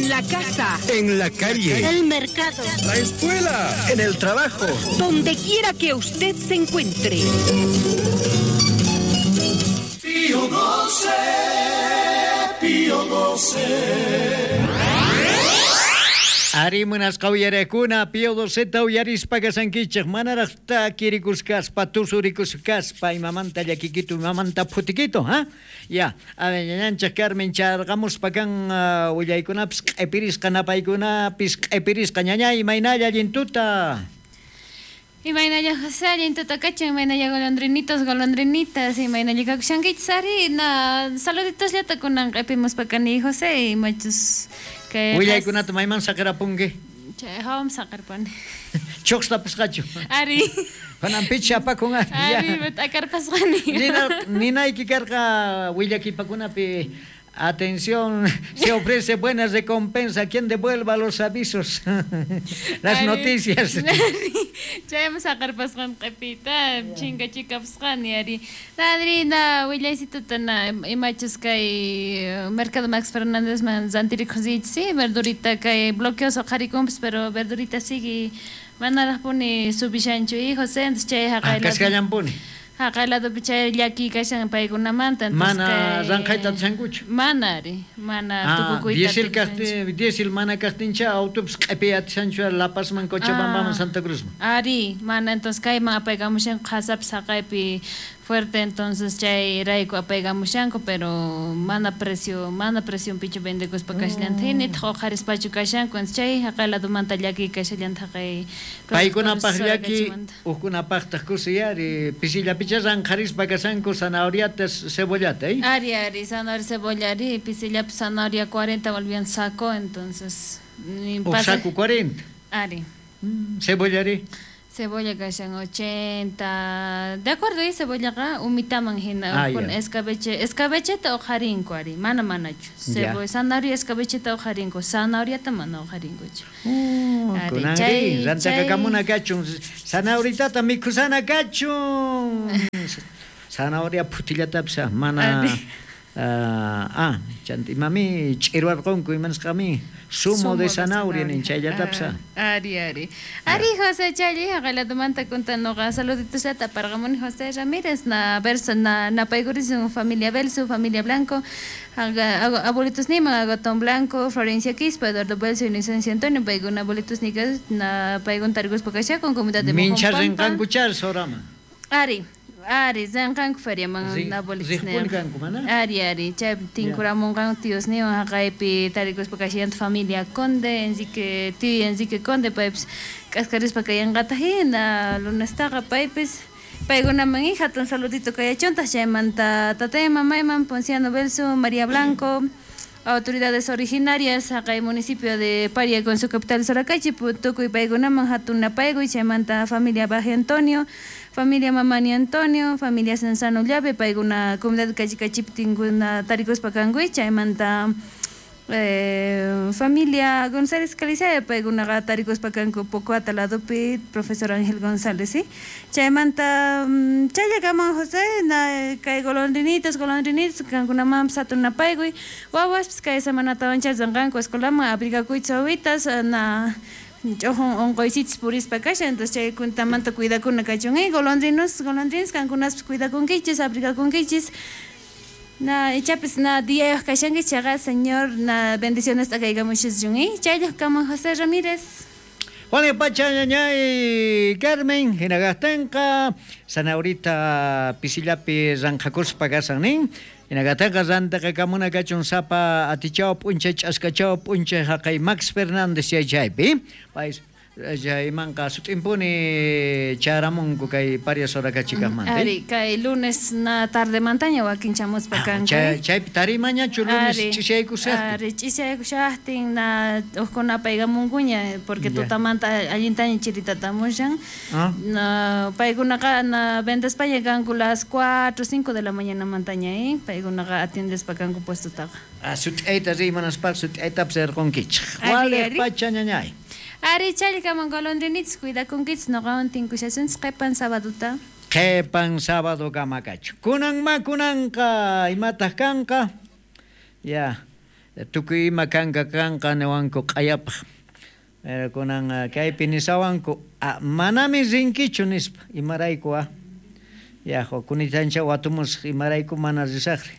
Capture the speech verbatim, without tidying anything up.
En la casa, en la calle, el mercado, la escuela, en el trabajo, donde quiera que usted se encuentre. Pío doce, Pío doce. Arimunas qawyarakuna Pío doceta uyarispa kasankichej manaraj takirikusqaspa tusurikusqaspa imamanta llakikitu imamanta phutikitu ha ya ñañanchej Carmen charqamuspa kan uh, willaykunapis q'ipirisqa napaykunapis q'ipirisqa ñañay imaynalla allintuta. Imaynalla José, allintuta kachan, imaynalla golondrinitos, golondrinitas, imaynalla kakushankichis ari, na saluditos llata kunan q'ipimuspa kani José, imachus kay willaykunata mayman saqirapunki? Chay hawam saqirpani. Chuqstapusqachu? Ari. Kunan picha apakun ari. Ari, t'akarpasqani. Nina, ninayki karqa willakipakunapi. Atención, se ofrece buena recompensa a quien devuelva los avisos, las Ari, noticias. Chaymi saqarpasqan q'ipita, chinkachikapusqani ari. Adri, na willaysituta na imachus kay Mercado Max Fernández man rantirikuq riychis, sí, verdurita kay bloqueos uqharikunpis, pero verdurita sigue manaraqpuni subishanchu y José, entonces chay haqay. Ah, kasqallanpuni. Haqay ladopi chay llaki kashan paykunamanta. Mana ranqhayta atishankuchu? Mana ari, mana ah, tukukuyta. Diesel kaqtin, diesel mana kaqtincha autopis q'ipiy atishanchu La Pazman, Cochabambaman, ah, Santa Cruzman. Ari, mana entonces kayman apaykamushanku qhasapis haqaypi fuerte, entonces chay rayku apaykamushanku, pero mana precio, mana precionpichu vendekuspa kashallanta, mm. nitaq uqharispachu kashanku, entonces chay haqay ladomanta llaki kashallanta haqay. Paykunapaq llaki, hukkunapaqtaq kusiy ari, pisillapicha ranqharispa kashanku zanahoriata, cebollata, ¿eh? Ari, ari, zanahoria, cebolla, ari, pisillapi zanahoria cuarenta volvían saco, entonces ni pasa... saco cuarenta. Ari. Mm, cebolla ari. Cebolla kashan ochenta. De acuerdo, y cebollaqa umitaman hina ah, con yeah. escabeche, escabecheta uqharinku ari, mana manachu. Cebolla, zanahoria escabecheta uqharinku, zanahoriata mana uqharinkuchu. Oh, ari, chay, rantakakamuna kachun, zanahoriatata mikhusana kachun. Zanahoria phutillatapis mana. Uh, ah, chanta imami ch'irwarqunku imanasqami sumo, sumo de zanahoria nin chayllatapas. Ah, ari, ari. Ari, José challi haqayladomanta kuntanoqa saluditos llata aparqamuni José Ramírez na verso na napaykurisun familia Belso, familia Blanco, abuelitos niman Agatón Blanco, Florencia Quispa, Eduardo Belso, Inocencia Antonio, paykuna abuelitos nikas na paykun tariguspa kashakun comunidad de Mincha rinqanku char sorama. Ari. Ari, zanqanku feriaman abuelitos niwan. Ari, ari, chay tinkuramunqanku tíos niwan haqaypi tarikuspa kashallanta familia Conde, Enrique, tío Enrique Conde, paypis k'askarispa kayanqata hina lunestaqa paypis paykunaman hatun saludito kayachuntaq chaymanta tatay mamayman Ponciano Belso, María Blanco, autoridades originarias haqay municipio de Paria con su capital Soracachi, tukuy paykunaman hatun napaykuy chaymanta familia Baje Antonio, familia Mamani Antonio, familia Sensano Llave, paykuna comunidad Kachikachipi tinkuna tarikuspa kankuy chaymanta eh, familia González Calizaya, paykunaqa tarikuspa kanku Pocoata ladopi, profesor Ángel González, ¿sí? Chaymanta chayllakaman José, na kay golondrinitos, golondrinitos, kankunamanpis hatun napaykuy, wawaspis kay semanatawan chaysanqanku escuelaman abrigakuychis wawitas, na ch'uqun unquysichis purispa kashan, entonces chay kuntamanta cuidakuna kachun, eh, golondrinos, golondrinos, kankunaspis cuidakunkichis, abrigakunkichis. Na ichapis na diyayuq kashankichis chayqa señor na bendiciones t'akaykamushischun, eh, chayllaqkaman José Ramírez. Juan Pacha ñañay Carmen hinaqaqtinqa zanahorita pisillapi ranqhakuspa kasan nin. Hinaqatinqa rantaqakamuna kachun sapa atichaw p'unchay ch'askachaw p'unchay haqay Max Fernández chay chaypi. Pay chaymanqa sut'impuni charamunku kay Paria Soracachicasmanta. Ari, kay lunes na tardemantaña wakin chamuspa kanku. Chay chaypi tarimañachu lunes ch'isiyaykushaqtin. Ari, ch'isiyaykushaqtin na hukuna paykamunkuña porque tutamanta allintaña chiritatamushan. Ah. Na paykunaqa na vendespaña kanku las cuatro, cinco de la mañana mantaña, eh, paykunaqa atiendespa kanku puestotaqa. Ah, sut'ayta rimanaspaqa sut'aytapas rirqunkichik. Waliq pacha ñañay. Ari, challkaman golondrinitas cuidakunkichis noqawan tinkushasunchis qhipan sabaduta. Qhipan sábado kamakachu. Kunan ma kunanqa imataq kanqa? Ya. Tukuy ima kanka kanqa niwanku q'ayapaj. Pero kunan kaypi nisawanku, manami rinkichu nispa, imarayku ah. Ya, kunitancha watumusaq, imarayku mana risaqri.